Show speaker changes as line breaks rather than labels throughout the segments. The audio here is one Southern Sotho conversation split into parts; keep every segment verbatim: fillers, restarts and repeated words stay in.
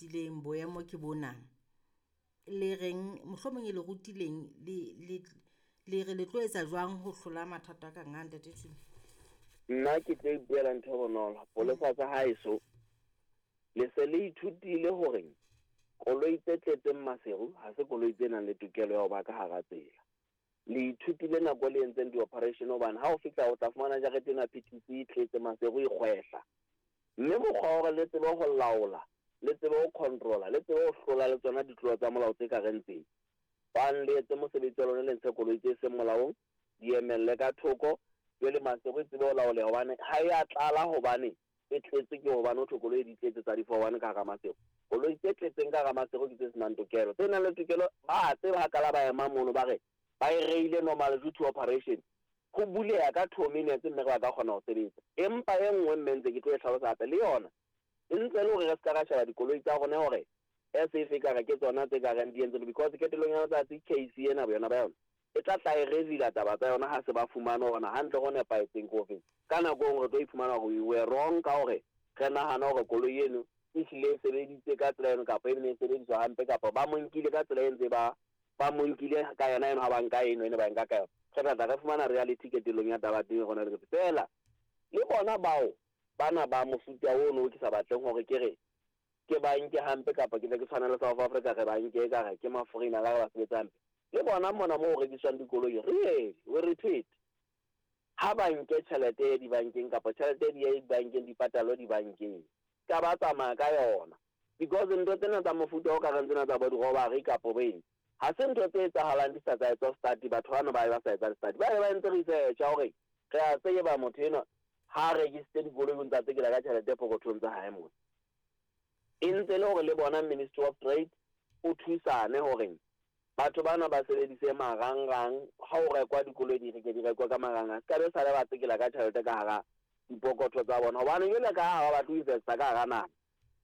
fetileng boemo ke bona. Le reng mohlomong e le rutileng le le le re le tlo etsa jwang ho hlola mathata a kang a ntate Thulo?
Nna ke tlo ipuela ntho e bonolo. Polesa tsa haeso le se le ithutile hore koloi tse tletseng Maseru ha se koloi tse nang le tokelo ya ho ba ka hara tsela. Le ithutile nako le entseng di-operation hobane ha o fihla o tla fumana jarete ena P T C e tletse Maseru e kgwehla. Mme mokgwa wa hore le tsebe ho laola, le tsebe ho control-a, le tsebe ho hlola le tsona ditlolo tsa molao tse ka reng tsena. Bang le etse mosebetsi wa lona, le ntshe koloi tse seng molaong, di emelle ka thoko, jwale Maseru e tsebe ho laoleha hobane ha ya tlala hobane e tletse ke hobane ho thwe koloi di tletse tsa di-four one ka hara Maseru. Koloi tse tletseng ka hara Maseru ke tse senang tokelo. Tse nang le tokelo ba tseba ha kala ba ema mono ba re ba e reile normal due to operation. Ho buleha ka two minutes mme re ba ka kgona ho sebetsa. Empa e nngwe mme ntse ke tlo e hlalosa hape le yona e ntse le hore re ska ra sheba dikoloi tsa rona hore as if ekare ke tsona tse ka reng di entse because qetellong ya letsatsi case ena boyona ba yona e tla tla e reveal taba tsa yona ha se ba fumane hore na hantle ho nepahetseng ke ofeng. Ka nako e nngwe re tlo iphumana hore we were wrong ka hore re nahana hore koloi eno e hlile e sebeditse ka tsela eno kapa e ne e sebediswa hampe kapa ba mo nkile ka tsela e ntse ba ba mo nkile ka yona eno ha ba nka eno ene ba nka ka yona. Re tla tla re fumana reality qetellong ya taba teng rona le feela le bona bao bana ba mofuta ono ke sa batleng hore ke re ke ba nke hampe kapa ke tle ke tshwane le South Africa re ba nke ekare ke ma-foreigner ka re ba sebetsa hampe. Le bona mona moo ho rekiswang dikoloi really we repeat ha ba nke tjhelete e dibankeng kapa tjhelete di ye dibankeng di patalwe dibankeng ka ba tsamaya ka yona because ntho tsena tsa mofuta o ka reng tsena tsa bo di-robbery kapo bo eng ha se ntho tse etsahalang di sa tsa etswa study batho bano ba ba sa etsa study ba ba entse research ya hore re a tseba motho enwa ha a rekisitse dikoloi o ntsa tsekela ka tjhelete pokothong tsa hae mona. E ntse le hore le bona Ministry of Trade o thusane hore batho bana ba sebedise marangrang ha o rekwa dikoloi di reke di rekwa ka marangrang se ka be sale ba tsekela ka tjhelete ka hara dipokotho tsa bona hobane jwale ka ha ba batle ho investa ka hara naha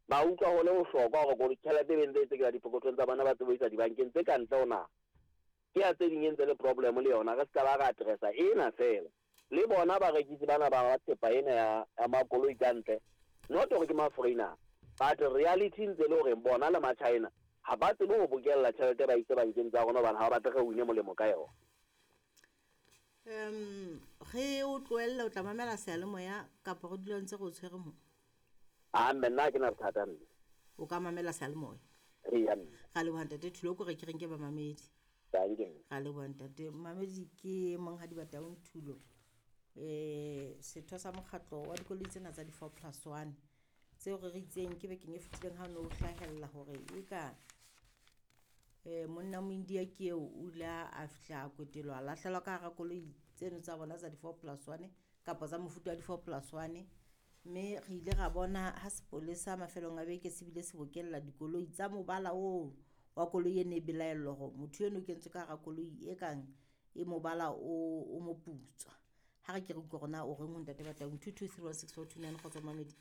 ba utlwa ho le bohlokwa hore koloi tjhelete e be ntse e tsekela dipokothong tsa bona ba tsebe ho isa dibankeng tse ka ntle ho naha. Ke ya tse ding e ntse le problem le yona re se ka ba ra addressa ena feela. Le bona barekisi bana ba thepa ena ya ya makoloi ka ntle not hore ke ma-foreigner but reality ntse le hore bona le ma-China ha ba tsebe ho bokella tjhelete ba ise bankeng tsa rona hobane ha ba batle re wine molemo ka yona.
Um ge o tlohella o tla mamela seyalemoya kapa re dula ntse re o tshwere mo?
Ah mme nna ha ke na bothata mme.
O ka mamela seyalemoya.
Eya mme.
Ra leboha ntate Thulo ko re ke reng ke bamamedi.
Dankie mme.
Ra leboha ntate. Mamedi ke Monghadi Bataung Thulo. Eh setho sa mokgatlo wa dikoloi tsena tsa di-four plus one tseo re re itseng ke bekeng e fetileng ha no hlahella hore e ka eh monna Moindia ke eo o ile a fihla a kwetelwa a lahlelwa ka hara koloi tseno tsa bona tsa di-four plus one kapa tsa mofuta wa di-four plus one mme re ile ra bona ha sepolesa mafelong a beke se bile se bokella dikoloi tsa mobala oo wa koloi e ne e belaellwa hore motho eno o kentswe ka hara koloi e kang e mobala o o moputswa. Ha re ke re utlwe hore na o reng ho ntate Bataung two two three one six four two nine kgotsa mamedi.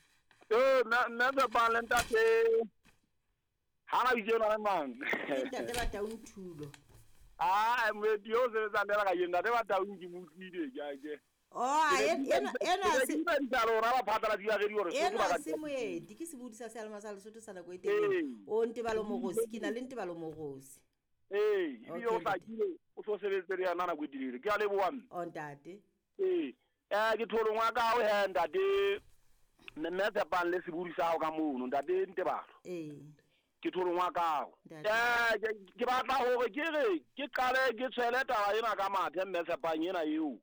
Eh nna nna Tshepang le ntate ha na bitso ena le mang?
Ke ntate Bataung Thulo.
Ah moeti yo o sebetsang le ka ntate Bataung ke mo utlwile ke a ke.
Oh ena ena
se ke le hore ba phatlalatsi ba radio hore
ena se moeti ke sebodi sa seyalemoya sa Lesotho sa nako e telele. O Ntebalo Morosi ke na le Ntebalo Morosi.
Eh ebile o hlakile o so sebetse le yena nako e telele ke a leboha mme.
O ntate.
Eh eh ke tholong wa ka o he ntate mme Tshepang le sebodi sa hao ka mono ntate Ntebalo.
Eh.
Ke tholong wa ka. Eh ke batla hore ke re ke qale ke tshwele taba ena ka mathe mme Tshepang ena eo.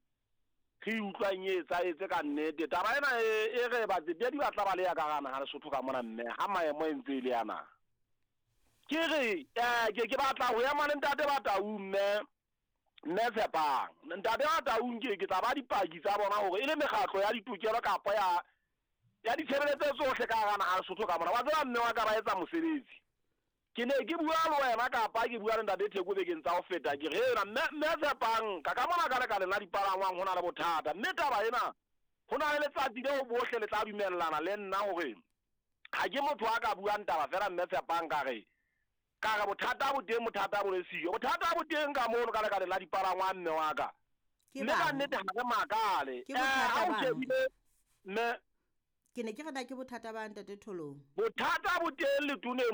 Re utlwang e etsahetse ka nnete taba ena e re batsetedi ba tla ba le ya ka hara naha Lesotho ka mona mme ha maemo e ntse e le yana. Ke re eh ke ke batla ho ema le ntate Bataung mme mme Tshepang. Ntate Bataung ke ke tla ba dipaki tsa bona hore e le mekgatlo ya ditokelo kapa ya ya ditshebeletso tsohle ka hara naha Lesotho ka mona. Wa tseba mme wa ka ba etsa mosebetsi. Ke ne ke bua le wena kapa ke bua le ntate Theko bekeng tsa ho feta ke re ena mme mme Tshepang ka ka mona ka lekaleng la dipalangwang ho na le bothata mme taba ena ho na le letsatsi leo bohle le tla dumellana le nna hore ha ke motho a ka buang taba fela mme Tshepang ka re ka re bothata bo teng bothata bo le siyo bothata bo teng ka mono ka lekaleng la dipalangwang mme wa ka mme ka nnete ha re makale
Ke bothata
ha o
bang?
shebile mme
Ke ne ke re na ke bothata ba ntate Tholong.
Bothata bo teng letoneng